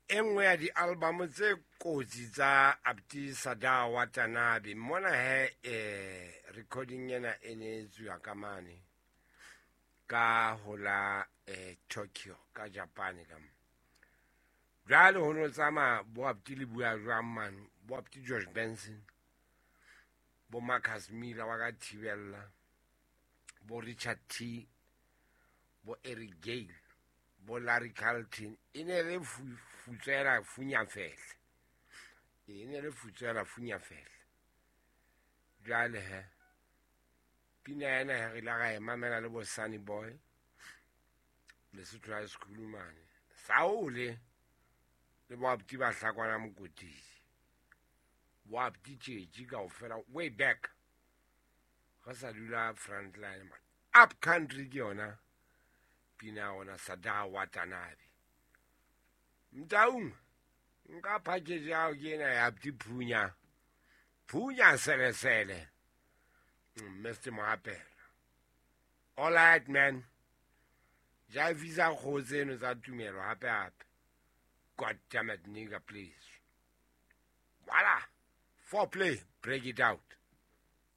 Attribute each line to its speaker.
Speaker 1: E nngwe ya di-album tse kotsi tsa Abdi Sada Watanabe mona he, recording ena e ne e tsuwa ka mane ka hola Tokyo ka Japan ka mo. Jwale ho no tsamaya bo Abdi le bua jwang mane, bo Abdi George Benson, bo Marcus Miller wa ka Thibella, bo Richard T, bo Eric Gale, bo Larry Carlton. E ne le futswela funyafehle, e ne le futswela funyafehle. Jwale he pina ena he re ile ra e mamela le bo Sunny Boy Lesotho High School mane Saole le bo Abdi ba Hlakwana Mokotedi, bo Abdi Tjetji kaofela way back re sa dula frontline man. Up Country ke yona pina ya rona, Sada Watanabe. Mtaung nka package ya hao ke ena ya Abdi Phunya Phunya Selesele, Mr. Moapela. All right man, jaivisa kgoho tseno tsa tumelo hape hape. God damn it nigga, please. Voila, foreplay, break it out.